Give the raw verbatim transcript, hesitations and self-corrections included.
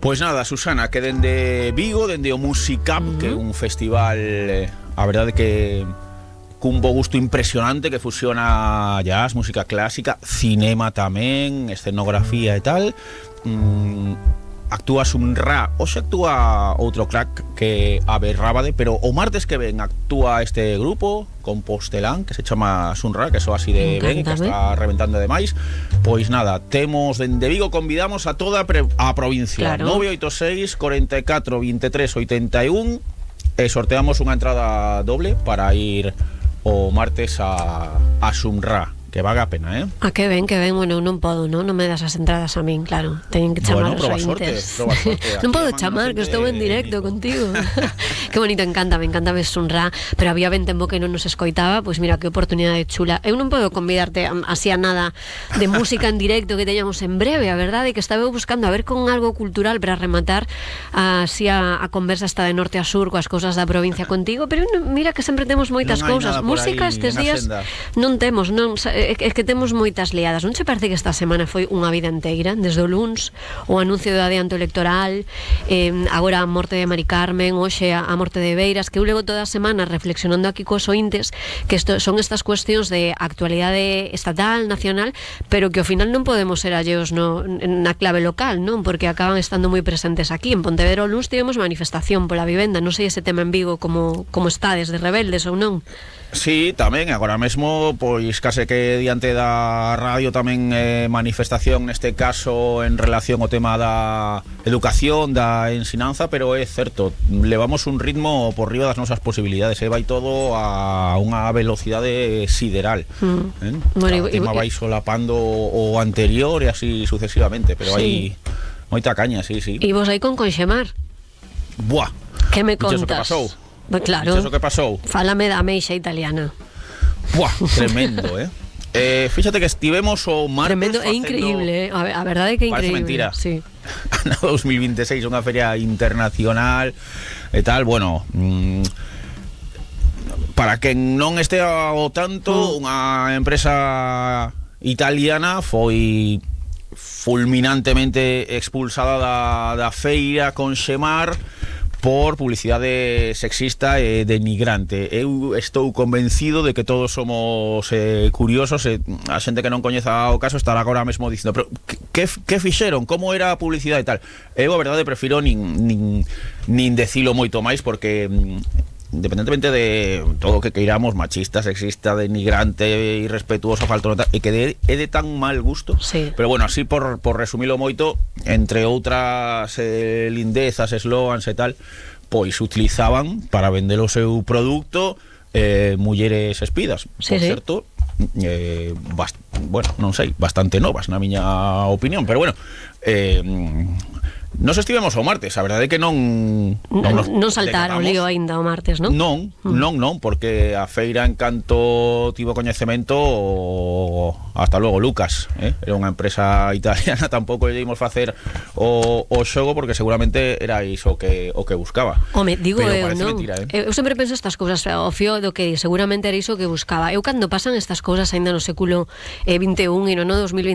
Pois nada, Susana, que dende Vigo, dende o Musicap, uh-huh. que é un festival, eh, a verdade que cun bo gusto impresionante, que fusiona jazz, música clásica, cinema tamén, escenografía e tal. mm, Actúa Sun-Ra, hoxe actúa outro crack que Abe Rábade, pero o martes que ven actúa este grupo compostelán que se chama Sun-Ra, que so así de ben, que está reventando demais. Pois nada, temos dende Vigo, convidamos a toda a provincia, claro. nove oito seis, cuarenta y cuatro, veintitrés, ochenta y uno, e sorteamos unha entrada doble para ir o martes a, a Sun-Ra, que vaga a pena, eh? Ah, que ben, que ben, bueno, non podo, non? Non me das as entradas a min, claro. Teñen que chamar bueno, os ointes. Non podo chamar, que estou en directo contigo. Que bonito, encanta, me encanta ver Sun-Ra, pero había ben tempo que non nos escoitaba, pois mira, que oportunidade chula. Eu non podo convidarte así a nada de música en directo que teñamos en breve, a verdade, que estaba buscando a ver con algo cultural para rematar así a, a conversa esta de norte a sur coas cousas da provincia contigo, pero mira que sempre temos moitas cousas. Música estes días non temos, non... É que temos moitas liadas. Non che parece que esta semana foi unha vida inteira? Desde o luns, o anuncio do adianto electoral, eh, agora a morte de Mari Carmen, hoxe a, a morte de Beiras, que eu levo toda a semana reflexionando aquí cos ointes, que esto, son estas cuestións de actualidade estatal, nacional, pero que ao final non podemos ser alleos no, na clave local, non? Porque acaban estando moi presentes aquí. En Pontevedra o luns tivemos manifestación pola vivenda. Non sei ese tema en Vigo como, como está, desde rebeldes ou non. Sí, tamén, agora mesmo, pois case que diante da radio tamén eh, manifestación neste caso en relación ao tema da educación, da ensinanza, pero é certo, levamos un ritmo por riba das nosas posibilidades, e vai todo a unha velocidade sideral. Mm. Eh? Bueno, o tema vai solapando o anterior e así sucesivamente, pero hai sí. moita caña, sí, sí. E vos aí con Conxemar? Buah, que me contas? Que pasou? Pues claro, iso que pasou? Fálame da ameixa italiana. Buah, tremendo, eh? eh Fíxate que estivemos o martes tremendo, é increíble, eh? A, a verdade é que é increíble. Parece mentira. Sí. Ano dos mil veintiséis, unha feria internacional e tal, bueno, mmm, para quen non estea ao tanto, mm. unha empresa italiana foi fulminantemente expulsada da, da feira Conxemar por publicidade sexista e denigrante. Eu estou convencido de que todos somos eh, curiosos, e a xente que non coñeza o caso estará agora mesmo dicindo, pero que, que fixeron? Como era a publicidade e tal? Eu, a verdade, prefiro nin, nin, nin decilo moito máis, porque independentemente de todo o que queiramos, machista, sexista, denigrante, irrespetuoso, falto nota, e que de, é de tan mal gusto, sí. Pero bueno, así por, por resumilo moito, entre outras eh, lindezas, eslogans e tal, pois utilizaban para vender o seu produto eh, mulleres espidas, sí, por sí. certo, eh, bast, bueno, non sei, bastante novas na miña opinión, pero bueno, eh, nos estivemos o martes, a verdade é que non Non, non, non saltaron o lío aínda o martes, non? Non, mm. non, non, porque a feira en canto tivo coñecemento o... hasta logo Lucas, eh? Era unha empresa italiana, tampouco lle imos facer o, o xogo porque seguramente era iso que, o que buscaba. Home, digo pero eu, non? Mentira, eh? Eu sempre penso estas cousas ao fío do que seguramente era iso que buscaba. Eu cando pasan estas cousas aínda no século vinte e un e no no dos mil vinte